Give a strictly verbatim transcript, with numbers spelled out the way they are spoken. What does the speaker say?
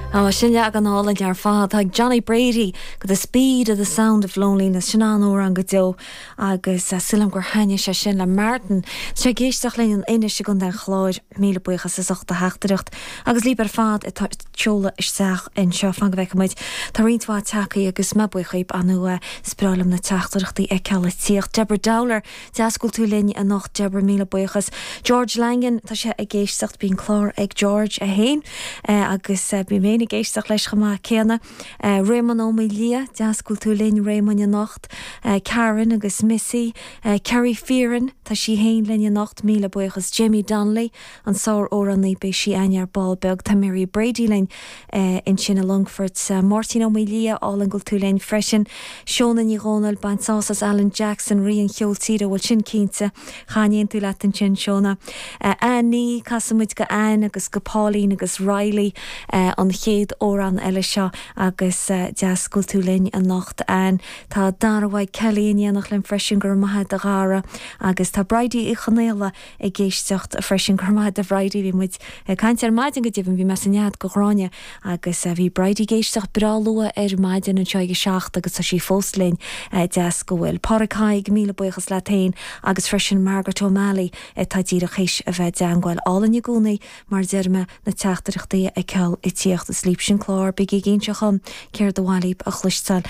Á sin leagan álainn ar fad ag Johnny Brady go the speed of the sound of loneliness sin an-amhrán go deo agus uh, sílim gur thaitnigh sé sin le Martin sé ag éisteacht linn in Inis i gContae an Chláir míle buíochas as ucht do theachtaireacht agus libh ar fad atá ag seoladh isteach anseo fan go bhfeicfidh muid Tá roinnt mhaith tagtha agus mé buíoch anua sprálam na teachtaireachtaí a fheiceáil ag tíocht. Deborah Dowler deas go bhfuil tú linn anocht Deborah míle buíochas. George Langan tá sé ag éisteacht bíonn clár ag George a haon eh, agus eh, bím ag éisteacht leis chomh maith céanna. Uh, Raymond Ó Lia deas go bhfuil tú linn Raymond anocht, uh, Karen agus Missy, uh, Kerry Fearon tá sí féin linn anocht míle buíochas Jamie Donnelly an sár-amhránaí beidh sí againn ar ball beag tá Mary Brady linn uh, ansin i Longfort uh, Martin Ó Lia álainn go bhfuil tú linn freisin Seona Ní Dhomhnaill bain sás as Alan Jackson rí an cheoil tíre bhfuil sin cinnte chanéon tú le sin Seona. Uh, Anní casfaimid go Ann agus go Pauline agus Riley uh, an chéad amhrán eile seo agus uh, deas go bhfuil tú linn anocht an Tá Darhaid Kelly in éineacht linn freisin gur maithe de gára agus tá Bridie Uí Chonaola ag éisteacht freisin gur maith de Bridie bhí muid caint ar maidin go deimhin bhí mé san nead go Gráinne agus bhí Bridie ag éisteacht breá luath ar maidin anseo ag seacht agus tá sí fós linn deas go bhfuil. Páráig míle buíochas leat féin agus freisin Margaret O'Malley tá díreach théis a bheith i dteagmháil álainn i gcónaí mar deirme na teachtaireachtaí ag ceil i tíocht is líp sin clár big ag inseacham céir do bhhailíb a chluisteáil